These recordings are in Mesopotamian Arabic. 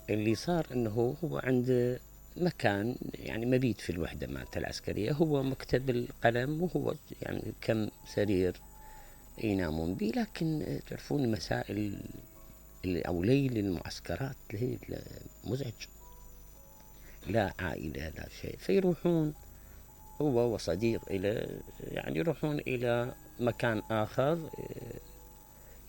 اللي صار انه هو عنده مكان يعني مبيت في الوحدة مالته العسكرية، هو مكتب القلم وهو يعني كم سرير ينامون بيه. لكن تعرفون مسائل أو ليل المعسكرات ليل مزعج، لا عائلة لا شيء، فيروحون هو وصديق إلى يعني يروحون إلى مكان آخر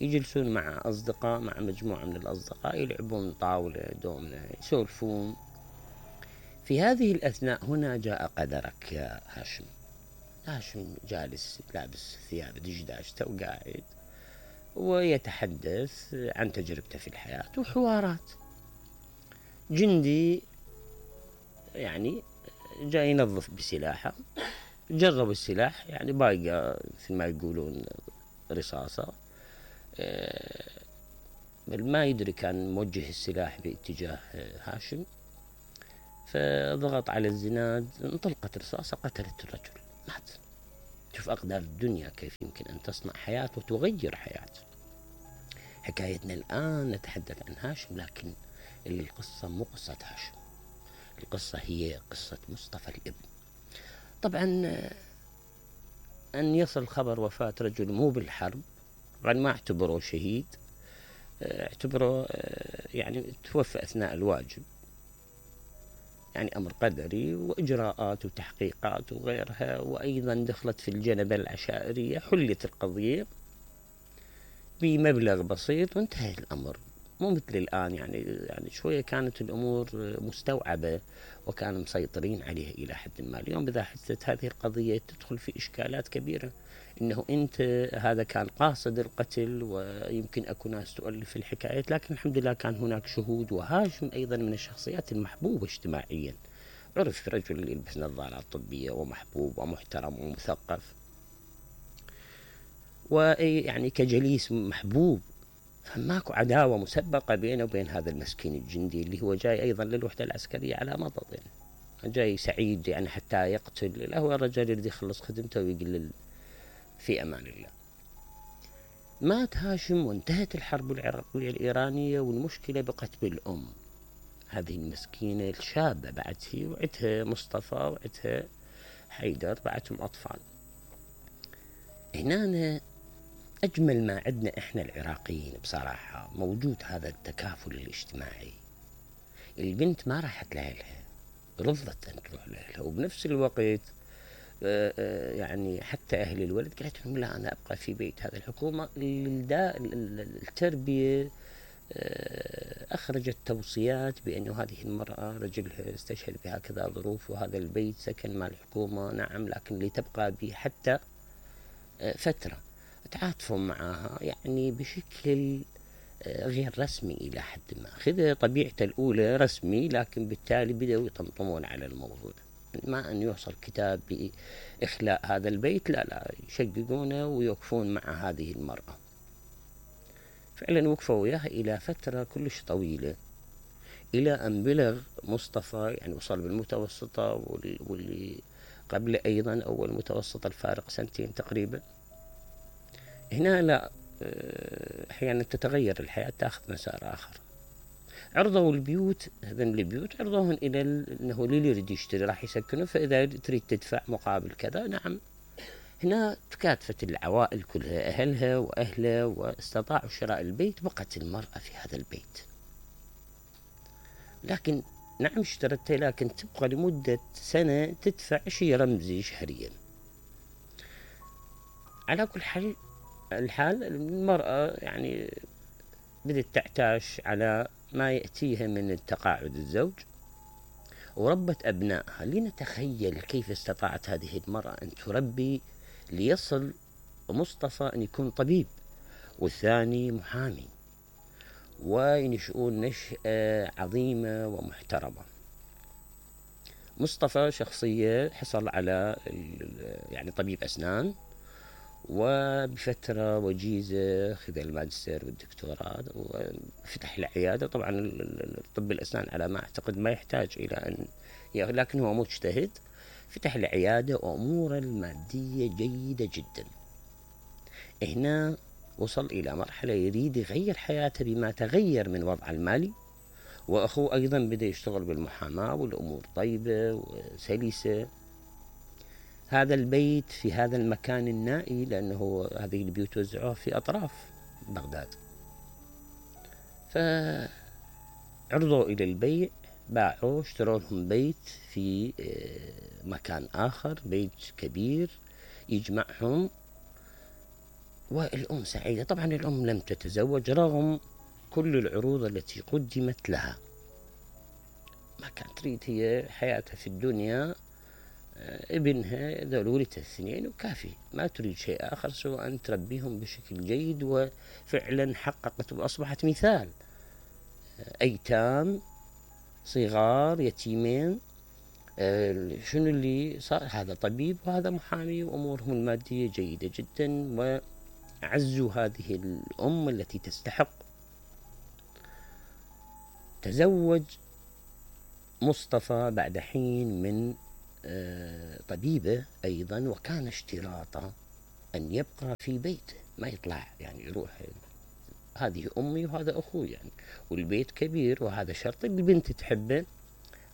يجلسون مع أصدقاء، مع مجموعة من الأصدقاء، يلعبون طاولة دومنة يسولفون. في هذه الأثناء هنا جاء قدرك يا هاشم. هاشم جالس لابس ثياب دشداشته وقاعد ويتحدث عن تجربته في الحياة وحوارات. جندي يعني جاي ينظف بسلاحه، جرب السلاح يعني بايقة مثل ما يقولون رصاصة، بل ما يدري كان موجه السلاح باتجاه هاشم، فضغط على الزناد، انطلقت رصاصة قتلت الرجل، مات. شوف أقدار الدنيا كيف يمكن أن تصنع حياة وتغير حياة. حكايتنا الآن نتحدث عن هاشم، لكن القصة مو قصة هاشم، القصة هي قصة مصطفى الابن. طبعا أن يصل خبر وفاة رجل مو بالحرب، طبعا ما اعتبره شهيد، اعتبره يعني توفى أثناء الواجب، يعني أمر قدري وإجراءات وتحقيقات وغيرها، وأيضا دخلت في الجنبة العشائرية، حلت القضية بمبلغ بسيط وانتهى الأمر. مو مثل الآن يعني شوية كانت الأمور مستوعبة وكانوا مسيطرين عليها إلى حد ما. اليوم إذا حدثت هذه القضية تدخل في إشكالات كبيرة، إنه أنت هذا كان قاصد القتل، ويمكن أكو ناس تؤلف الحكايات، لكن الحمد لله كان هناك شهود. وهاشم أيضا من الشخصيات المحبوبة اجتماعيا، عرف رجل يلبس نظارات طبية ومحبوب ومحترم ومثقف، ويعني كجليس محبوب. فماكو عداوة مسبقة بينه وبين هذا المسكين الجندي اللي هو جاي أيضا للوحدة العسكرية على مضض، يعني جاي سعيد يعني حتى يقتل. لا، هو الرجال اللي يخلص خدمته ويقول في أمان الله. مات هاشم وانتهت الحرب العراقية الإيرانية، والمشكلة بقت بالأم، هذه المسكينة الشابة بعد، هي وعدها مصطفى وعدها حيدر، بعدهم أطفال. هنا أجمل ما عندنا إحنا العراقيين بصراحة موجود هذا التكافل الاجتماعي. البنت ما راحت لأهلها، رفضت أن تروح لأهلها، وبنفس الوقت يعني حتى أهل الولد قالت لهم لا أنا أبقى في بيت هذه الحكومة. التربية أخرجت توصيات بأنه هذه المرأة رجلها استشهد بهكذا ظروف، وهذا البيت سكن مع الحكومة نعم، لكن لتبقى به حتى فترة. تعاطفوا معها يعني بشكل غير رسمي إلى حد ما، خذ طبيعته الأولى رسمي، لكن بالتالي بدأوا يطمطمون على الموضوع، ما أن يوصل كتاب بإخلاء هذا البيت، لا يشققونه ويوقفون مع هذه المرأة. فعلا وقفوا وياها إلى فترة كلش طويلة، إلى أن بلغ مصطفى يعني وصل بالمتوسطة، واللي قبل أيضا أول متوسطة الفارق سنتين تقريبا. هنا لا، أحيانا تتغير الحياة، تأخذ مسار آخر. عرضوا البيوت، هذين البيوت عرضوهن إلى أنه اللي يريد يشتري راح يسكنه، فإذا تريد تدفع مقابل كذا نعم. هنا تكاتفت العوائل كلها، أهلها وأهله، واستطاعوا شراء البيت. بقت المرأة في هذا البيت، لكن نعم اشترته، لكن تبقى لمدة سنة تدفع شيء رمزي شهريا. على كل الحال المرأة يعني بدأت تعتاش على ما يأتيها من التقاعد الزوج، وربت أبنائها. لنتخيل كيف استطاعت هذه المرأة أن تربي ليصل مصطفى أن يكون طبيب، والثاني محامي، وينشؤون نشأة عظيمة ومحترمة. مصطفى شخصية حصل على يعني طبيب أسنان، وبفترة وجيزة خذ الماجستير والدكتوراه وفتح العيادة. طبعا الطب الأسنان على ما أعتقد ما يحتاج إلى أن لكن هو مجتهد، فتح العيادة وأموره المادية جيدة جدا. هنا وصل إلى مرحلة يريد يغير حياته بما تغير من وضعه المالي وأخوه أيضا بدأ يشتغل بالمحاماة والأمور طيبة وسلسة. هذا البيت في هذا المكان النائي، لأنه هذه البيوت وزعوها في أطراف بغداد، فعرضوا إلى البيع، باعوا، اشتروا لهم بيت في مكان آخر، بيت كبير يجمعهم. والأم سعيدة. طبعا الأم لم تتزوج رغم كل العروض التي قدمت لها، ما كانت تريد هي حياتها في الدنيا، ابنها ذول ولدت الاثنين وكافي، ما تريد شيء آخر سوى أن تربيهم بشكل جيد. وفعلا حققت وأصبحت مثال. أيتام صغار يتيمين، شنو اللي صار؟ هذا طبيب وهذا محامي وأمورهم المادية جيدة جدا، وعزوا هذه الأم التي تستحق. تزوج مصطفى بعد حين من طبيبة أيضا، وكان اشتراطه أن يبقى في بيته، ما يطلع يعني يروح. هذه أمي وهذا أخوي يعني، والبيت كبير وهذا شرط. البنت تحبه،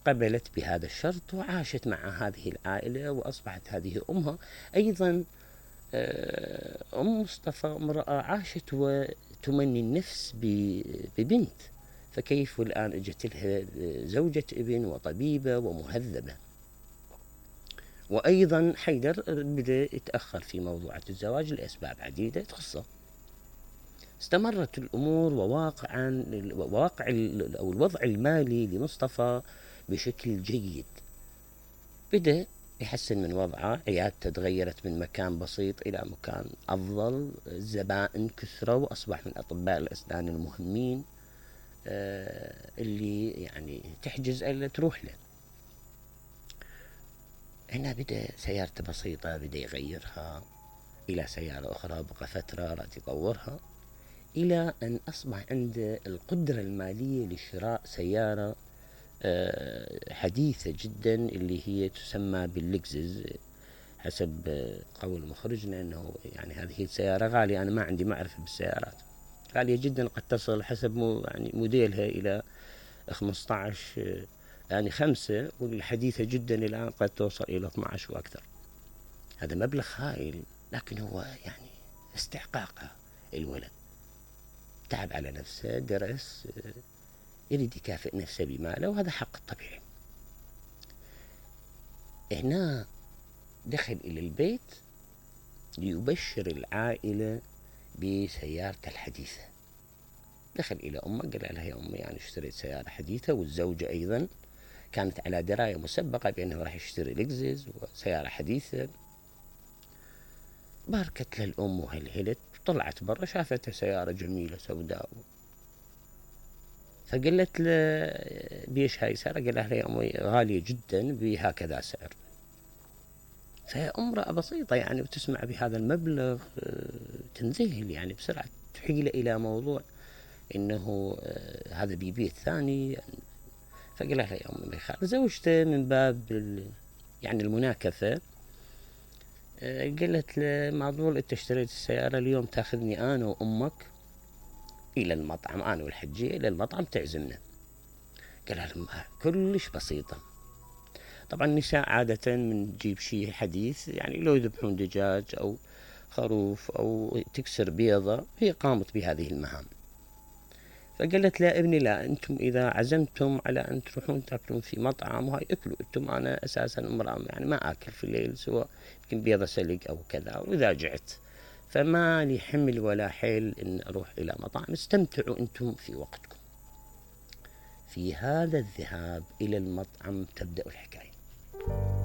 قبلت بهذا الشرط وعاشت مع هذه العائلة وأصبحت هذه أمها. أيضا أم مصطفى امرأة عاشت وتمني النفس ببنت، فكيف والآن اجت لها زوجة ابن وطبيبة ومهذبة. وأيضا حيدر بدأ يتأخر في موضوع الزواج لأسباب عديدة تخصه. استمرت الأمور، وواقع أو الوضع المالي لمصطفى بشكل جيد. بدأ يحسن من وضعه، عيادته تغيرت من مكان بسيط إلى مكان أفضل، الزبائن كثروا وأصبح من أطباء الأسنان المهمين اللي يعني تحجز ألا تروح له. هنا بدأ سيارته بسيطة بدأ يغيرها إلى سيارة أخرى، بقى فترة راد يطورها، إلى أن أصبح عنده القدرة المالية لشراء سيارة حديثة جدا اللي هي تسمى باللكزس حسب قول مخرجنا، أنه يعني هذه السيارة غالية. أنا ما عندي معرفة بالسيارات، غالية جدا، قد تصل حسب يعني موديلها إلى 15 يعني 5، والحديثة جدا الآن قد توصل إلى 12 وأكثر. هذا مبلغ هائل، لكن هو يعني استحقاقه. الولد تعب على نفسه، درس، يريد يكافئ نفسه بماله، وهذا حق طبيعي. هنا دخل إلى البيت ليبشر العائلة بسيارته الحديثة. دخل إلى أمه قال لها: يا أمي يعني اشتريت سيارة حديثة. والزوجة أيضا كانت على دراية مسبقة بأنه راح يشتري لكزس وسيارة حديثة. باركت للأم وهلهلت، طلعت برا شافت سيارة جميلة سوداء، فقالت له: بيش هاي سيارة؟ قال لها: يا أمي غالية جدا بهكذا سعر. فامرأة بسيطة يعني وتسمع بهذا المبلغ تنذهل يعني بسرعة، تحيل إلى موضوع إنه هذا بيبيت ثاني. فقال لها: يا أمي ما يخالف. زوجته من باب يعني المناكفة قالت له: معقول أنت اشتريت السيارة اليوم تاخذني أنا وأمك إلى المطعم، أنا والحجية إلى المطعم تعزمنا؟ قال لها: كلش بسيطة. طبعا النساء عادة من تجيب شيء حديث، يعني لو يذبحون دجاج أو خروف أو تكسر بيضة، هي قامت بهذه المهام. فقالت لا ابني لا، أنتم إذا عزمتم على أن تروحون تأكلون في مطعم وهاي أكلوا أنتم، أنا أساسا امرأة يعني ما أكل في الليل سوى يمكن بيضة سلق أو كذا، وإذا جعت فما لي حمل ولا حيل إن أروح إلى مطعم، استمتعوا أنتم في وقتكم. في هذا الذهاب إلى المطعم تبدأ الحكاية.